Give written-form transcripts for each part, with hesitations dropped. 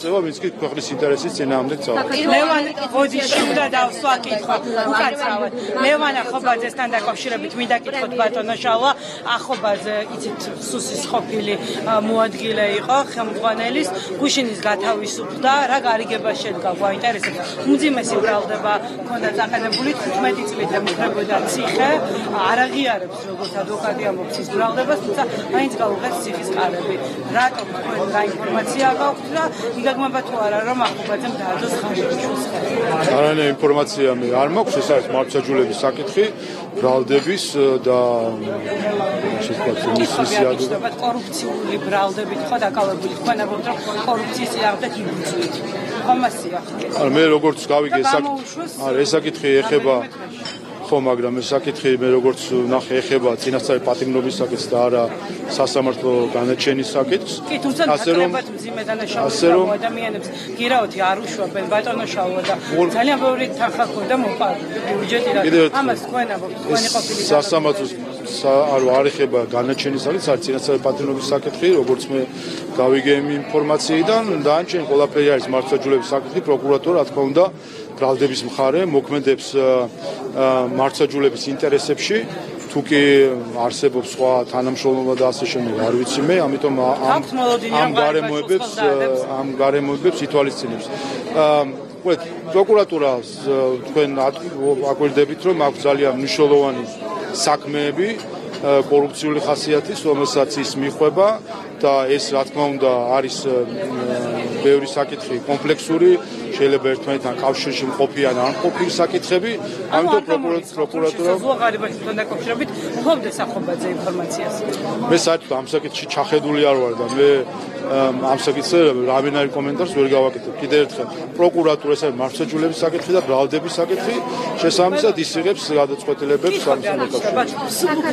ვინც კი ქვეყნის ინტერესის წინააღმდეგ წავა. ლევან ოდიში უნდა დავსვაკითხოთ უკაცრავად. ლევანა ხობაძესთან დაკავშირებით მინდა კითხოთ ბატონო შავა, ახობაძე იცით სუსის ყოფილი მოადგილე იყო ხელმძღვანელის, გუშინის გათავისუფლდა, რა გარიგება შედგა გვაინტერესებს. უმძიმესი ბრალდება ჰქონდა წაყენებული 15 წლით ემუქრებოდა ციხე, არ აღიარებს როგორც ადვოკატი ამბობს ის ბრალდებას, თუმცა მაინც გაუღეს ციხის კარები. რატომ თქვენ რა ინფორმაცია გაქვთ და გაგმობა თუ არა რომ ახობაძემ დაადოს ხანჯიშვილს ხელი. არანაირი ინფორმაცია მე არ მაქვს, ეს არის მართლმსაჯულების საკითხი, ბრალდების და შესაძლოა კორუფციული ბრალდებით ხო დაკავებული თქვენ ამბობთ რომ კორუფციის წინააღმდეგ იბრძვით. ხომასია. მე როგორც გავიგე ეს საკითხი ეხება ხო, მაგრამ ეს საკითხი მე როგორც ნახე ეხება წინასწარი პატიმრობის საკითხს და არა სასამართლო განაჩენის საკითხს. კი, თუმცა ნაკლებად მძიმე დანაშაულები ადამიანებს გირაოთი არ უშვებენ ბატონო შავა და ძალიან ბევრი თანხა ქონდა მოპარული ბიუჯეტი რა. ამას თქვენ ამბობთ, თქვენი ყოფილი სასამართლოს არ ეხება განაჩენის საკითხს, არის წინასწარი პატიმრობის საკითხი, როგორც მე გავიგე იმ ინფორმაციიდან, დანარჩენი ყველაფერი არის მართლმსაჯულების საკითხი, პროკურატურა რა თქმა უნდა ბრალდების მხარე მოქმედებს მართლმსაჯულების ინტერესებში, თუ კი არსებობს სხვა თანამშრომლობა და ასე შემდეგ, არ ვიცი მე, ამიტომ ამ გარემოებებს ითვალისწინებს. ვეთ, პროკურატურას თქვენ აკვირდებით, რომ აქვს ძალიან მნიშვნელოვანი საქმეები კორუფციული ხასიათის, რომელსაც ის მიხვება და ეს რა თქმა უნდა არის ბევრი საკითხი კომპლექსური, შეიძლება ერთმანეთთან კავშირში მყოფი ან არ მყოფი საკითხები, ამიტომ პროკურატურა ზღვაღარიბაშთან დაკავშირებით მქონდეს ახობაძე ინფორმაციას. მე საერთოდ ამ საკითხში ჩახედული არ ვარ და მე ამ საკითხზე რავენარი კომენტარს ვერ გავაკეთებ. კიდევ ერთხელ, პროკურატურა ეს არის მართლმსაჯულების საკითხი და ბრალდების საკითხი, შესაბამისად ის იღებს გადაწყვეტილებებს ამ საკითხში.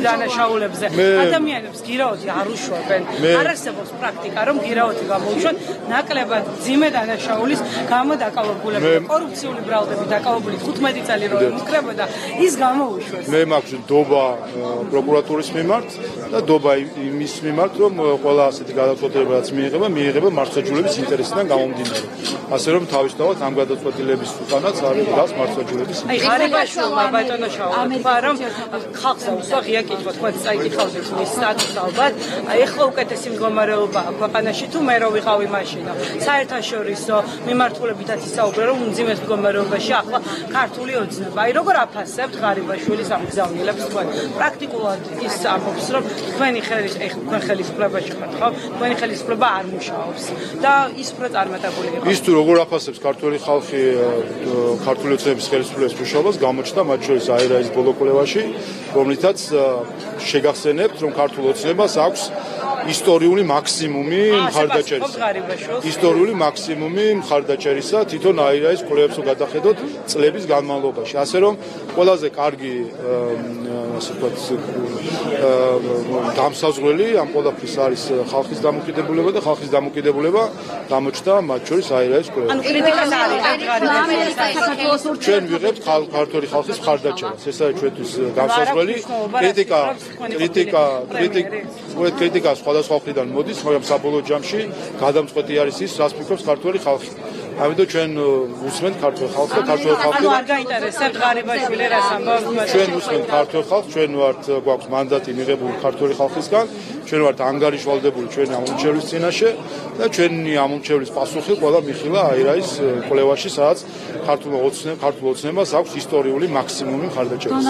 დანაშაულებზე ადამიანებს გირაოთი არ უშვებენ. არ არსებობს პრაქტიკა, რომ გირაოთი გამოუშვათ ნაკლებად მძიმე დანაშაულის გამო დაკავებულები. კორუფციული ბრალდები დაკავებული 15 წელი რომ ემუქრებოდა, ის გამოუშვეს. მე მაქვს ნდობა პროკურატურის მიმართ და ნდობა იმის მიმართ, რომ ყველა ასეთი გადაწყვეტილებაც მიიღება მართლმსაჯულების ინტერესიდან გამომდინარე. ასე რომ თავისთავად ამ გადაწყვეტილების უკანაც არის დგას მართლმსაჯულების ინტერესი. ღარიბაშვილმა ბატონო შავა თქვა, რომ ხალხს აუსვა ღია კითხვა, თქვა წაიკითხავთ მის სტატუსს ალბათ. ეხლა უკეთესი მდგომარეობა ქვეყანაში თუ მე რო ვიყავი მაშინა. საერთაშორისო მიმართულებითაც ისაუბრა, რომ უმძიმეს მდგომარეობაში ახლა ქართული ოცნება. აი როგორ აფასებთ ღარიბაშვილის ამ გზავნილებს თქვენ? პრაქტიკულად ის ამბობს, რომ თქვენი ხელისუფლებაში ხართ, ხო? თქვენი ხელისუფლება არ მუშაობს და ის უფრო წარმატებული იყო. ის თუ როგორ აფასებს ქართული ხალხი ქართული ოცნების ხელისუფლების მუშაობას, გამოჩნდა მათ შორის აირაის ბოლო კვლევაში, რომლითაც შეგახსენებთ, რომ ქართულ ოცნებას აქვს ისტორიული მაქსიმუმი მხარდაჭერისა. ისტორიული მაქსიმუმი მხარდაჭერისა თვითონ აირაის კვლევებს გადახედოთ წლების განმავლობაში. ასე რომ ყველაზე კარგი ასე ვთქვათ დამსაზღვრელი ამ ყველაფრის არის ხალხის დამოკიდებულება და ხალხის დამოკიდებულება გამოჩნდა მათ შორის აირაის კვლევებში. ანუ კრიტიკას არის საქართველოს ჩვენ ვიღებთ ქართული ხალხის მხარდაჭერას. ეს არის ჩვენთვის დამსაზღვრელი კრიტიკა სხვადასხვა მხრიდან მოდის, მაგრამ საბოლოო ჯამში გადამწყვეტი არის ის, რას ფიქრობს ქართული ხალხი. ამიტომ ჩვენ უსმენთ ქართულ ხალხს და ქართულ ხალხს. ანუ არ გაინტერესებთ ღარიბაშვილი რას ამბობს? ჩვენ უსმენთ ქართულ ხალხს, ჩვენ ვართ გვაქვს მანდატი მიღებული ქართული ხალხისგან, ჩვენ ვართ ანგარიშვალდებული ჩვენი ამომრჩევლის წინაშე და ჩვენი ამომრჩევლის პასუხი ყველა მიხილა აირაის კვლევაში, სადაც ქართულ ოცნებას აქვს ისტორიული მაქსიმუმი მხარდაჭერის.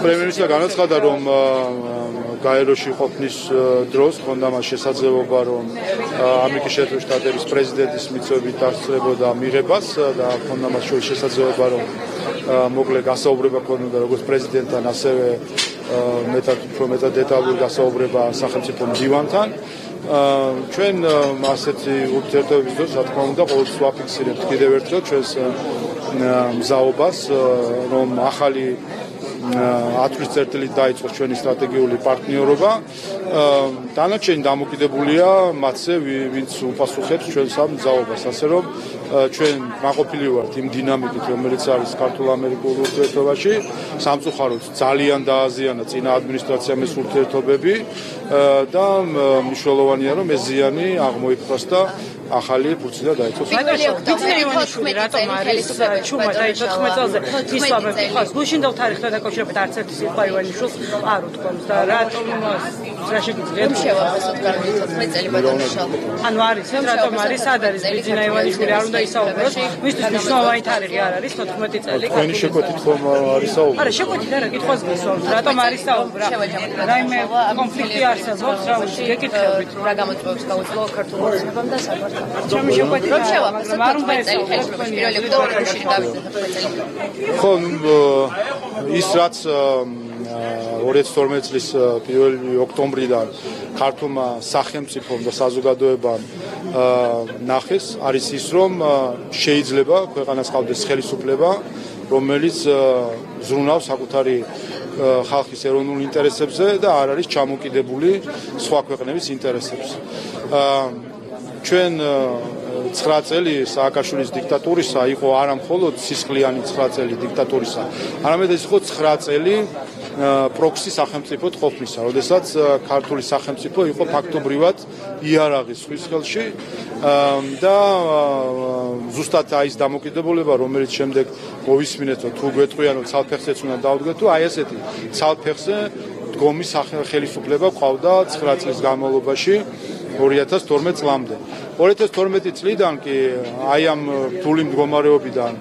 პრემიერ-მინისტრმა განაცხადა, რომ გაეროში ყოფნის დროს ჰქონდა მას შესაძლებლობა, რომ ამერიკის შეერთებული შტატების პრეზიდენტის მიწვევით დასწრებოდა მიღებას და ჰქონდა მას შორის შესაძლებლობა, რომ მოკლე გასაუბრება ჰქონდა როგორც პრეზიდენტთან, ასევე მეტად დეტალური გასაუბრება სახელმწიფო მდივანთან. ჩვენ ასეთი ურთიერთობების დროს, რა თქმა უნდა, ყოველთვის ვაფიქსირებთ კიდევ ერთხელ ჩვენს მზაობას, რომ ახალი 10 წელიწადით დაიწყოს ჩვენი სტრატეგიული პარტნიორობა დანარჩენი დამოკიდებულია მათზე, ვინც უპასუხებს ჩვენს ამ მძაობას, ასე რომ ჩვენ მაყოფილი ვართ იმ დინამიკით, რომელიც არის ქართულ-ამერიკულ ურთიერთობაში, სამწუხაროდ ძალიან დააზიანა წინა ადმინისტრაციამ ეს ურთიერთობები და მნიშვნელოვანია, რომ ეს ზიანი აღმოიფხვრას და ახალი ფურცლი დაიწყოს. ბიძინაევანიშვილი რატომ არის ჩუმა და 14 წელზე ისლამები ხავს გუშინდელ თარიღთან დაკავშირებით არც ერთი სიტყვა ივანიშვილს არ უთქვამს და რატომ რა შეგიძლიათ შევაფასოთ გარკვეული 14 წელი ბატონიშალ. ანუ არის რატომ არის სად არის ბიძინაევანიშვილი არ უნდა ისაუბროს მისთვის მნიშვნელოვანი თარიღი არ არის 14 წელი თქვენი შეკვეთით ხომ არის საუბარი? არა შეკვეთით არა კითხვას გისვამთ რატომ არის საუბარი რაიმე კონფლიქტი არსებობს რა ვიცი გეკითხებით რა გამოწვევებს გაუძლო ქართულ ოცნებამ და საბჭოთა ჩემი შეკვეთით რომ შევაფასოთ 14 წელი ხელისუფლების პირველი ოქტომბერში გავიწყეთ 14 წელი. ხო, ის რაც 2012 წლის 1 ოქტომბრიდან ქართულმა სახელმწიფომ და საზოგადოებამ ნახეს, არის ის, რომ შეიძლება ქვეყანას ყავდეს ხელისუფლება, რომელიც ზრუნავს საკუთარი ხალხის ეროვნულ ინტერესებზე და არ არის ჩამოკიდებული სხვა ქვეყნების ინტერესებზე. ჩვენ 9 წელი სააკაშვილის დიქტატურისა იყო არა მხოლოდ სისხლიანი 9 წელი დიქტატურისა, არამედ ეს იყო 9 წელი პროქსი სახელმწიფოდ ყოფნისა, როდესაც ქართული სახელმწიფო იყო ფაქტობრივად იარაღის ზღვის ხელში და ზუსტად ის დამოკიდებულება, რომელიც შემდეგ მოვისმინეთ, თუ გვეტყვიან, რომ ცალფეხზეც უნდა დავდგეთ, თუ აი ესეთი ცალფეხზე დგომის ხელისუფლება ყავდა 9 წლის განმავლობაში 2012 წლამდე. 2012 წლიდან კი აი ამ რთული მდგომარეობიდან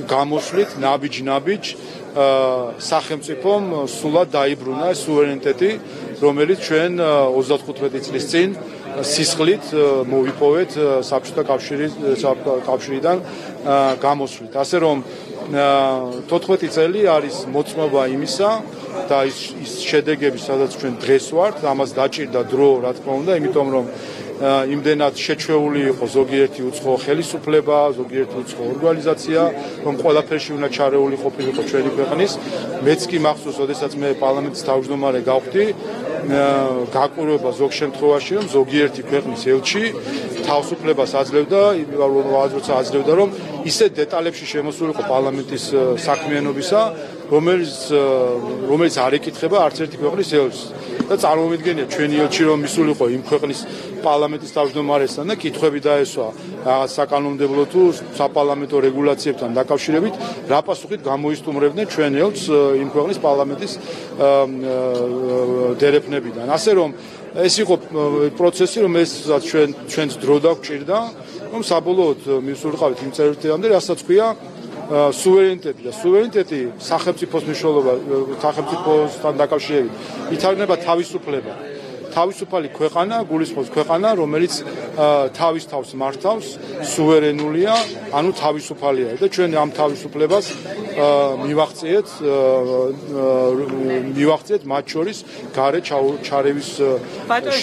გამოსვლით ნაბიჯ სახელმწიფომ სულად დაიბრუნა სუვერენიტეტი, რომელიც ჩვენ 35 წლის წინ სისხლით მოვიპოვეთ საბჭოთა კავშირიდან გამოსვლით. ასე რომ 14 წელი არის მოწმობა იმისა და ის შედეგები, სადაც ჩვენ დღეს ვართ, ამას დაჭირდა დრო, რა თქმა უნდა, იმიტომ რომ იმდენად შეჩვეული იყო ზოგიერთი უცხო ხელისუფლება, ზოგიერთი უცხო ორგანიზაცია, რომ ყველაფერში უნდა ჩარეული ყოფილიყო ჩვენი ქვეყნის. მეც კი მახსოვს, როდესაც მე პარლამენტის თავმჯდომარე გავხდი, გაკვირვება ზოგ შემთხვევაში, რომ ზოგიერთი ქვეყნის ელჩი თავისუფლებას აძლევდა, როცა აძლევდა, რომ ისეთ დეტალებში შემოსულიყო პარლამენტის საქმიანობისა, რომელიც არ ეკითხება არც ერთი ქვეყნის ელჩს. და წარმოვიდგენია ჩვენი ელჩი რომ მისულიყო იმ ქვეყნის პარლამენტის თავმჯდომარესთან და კითხვები დაესვა რაღაც საკანონმდებლო თუ საპარლამენტო რეგულაციებთან დაკავშირებით, რა პასუხით გამოისტუმრებდნენ ჩვენ ელჩს იმ ქვეყნის პარლამენტის დერეფნებიდან. ასე რომ ეს იყო პროცესი, რომელსაც ჩვენს დრო დაგვჭირდა, რომ საბოლოოდ მისულიყავით იმ წერტილამდე, რასაც ქვია სუვერენიტეტი და სუვერენიტეტი სახელმწიფოს მნიშვნელობა, სახელმწიფოსთან დაკავშირებით ითარგმნება თავისუფლება. თავისუფალი ქვეყანა გულისხმობს ქვეყანა, რომელიც თავის თავს მართავს, სუვერენულია, ანუ თავისუფალია და ჩვენ ამ თავისუფლებას მივახციეთ მათ შორის გარე ჩარევის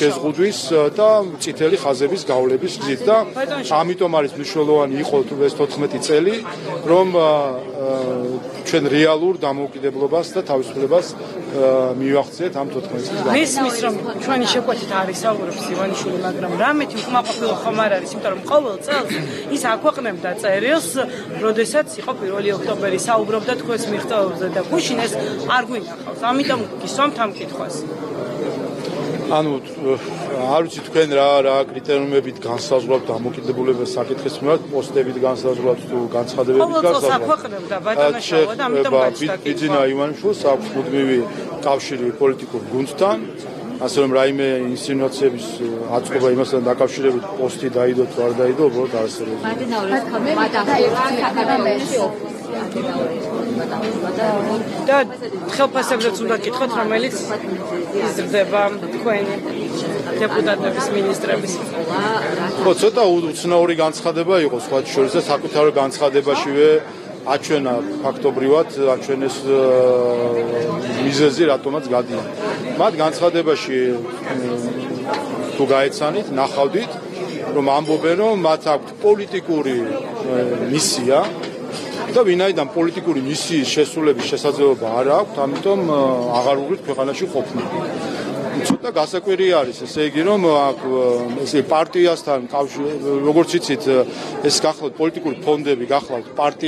შეზღუდვის და წითელი ხაზების გავლების გზით და ამიტომ არის მნიშვნელოვანი იყო ეს 14 წელი, რომ ჩვენ რეალურ დამოუკიდებლობას და თავისუფლებას მივახციეთ ამ 14 წლის განმავლობაში. მისმის რომ ჩვენი შეკვეთით არის საუბრობს ივანიშვილი, მაგრამ რამეთი უკმაყოფილო ხომ არ არის, იმიტომ რომ ყოველ წელს ის აქვეყნებდა წერილს, როდესაც იყო 1 ოქტომბერი, საუბრობდა თქვენს მიღწევებზე და გუშინ ეს არ გვინახავს. ამიტომ გისვამთ ამ კითხვას. ანუ არ ვიცი თქვენ რა კრიტერიუმებით განსაზღვრავთ დამოკიდებულებას საკითხის მიმართ, პოსტებით განსაზღვრავთ თუ განცხადებებით განსაზღვრავთ. ყოველ წელს აქვეყნებდა ბატონაშავა და ამიტომ გაჩნდა კითხვა. ბიძინა ივანიშვილს აქვს მუდმივი კავშირი პოლიტიკურ გუნდთან, ასე რომ რაიმე ინსინუაციების აწყობა იმასთან დაკავშირებით პოსტი დაიდო თუ არ დაიდო, უბრალოდ არასერიოზული. და ხელფასებზეც უნდა გითხოთ, რომელიც იზრდება თქვენი დეპუტატების, მინისტრების. ხო, ცოტა უცნაური განცხადება იყო სხვა შორის და საკუთარ განცხადებაშივე აჩვენა ფაქტობრივად, აჩვენეს მიზეზი, რატომაც გადიან. მათ განცხადებაში თუ გაეცანით, ნახავდით, რომ ამბობენ, რომ მათ აქვთ პოლიტიკური მისია და ვინაიდან პოლიტიკური მისიის შესრულების შესაძლებლობა არ აქვთ, ამიტომ აღარ უღრით ქვეყანაში ყოფნა. ცოტა გასაკვირი არის, ესე იგი რომ აქ ესე პარტიასთან როგორც იცით ეს გახლავთ პოლიტიკური ფონდები, გახლავთ პარტია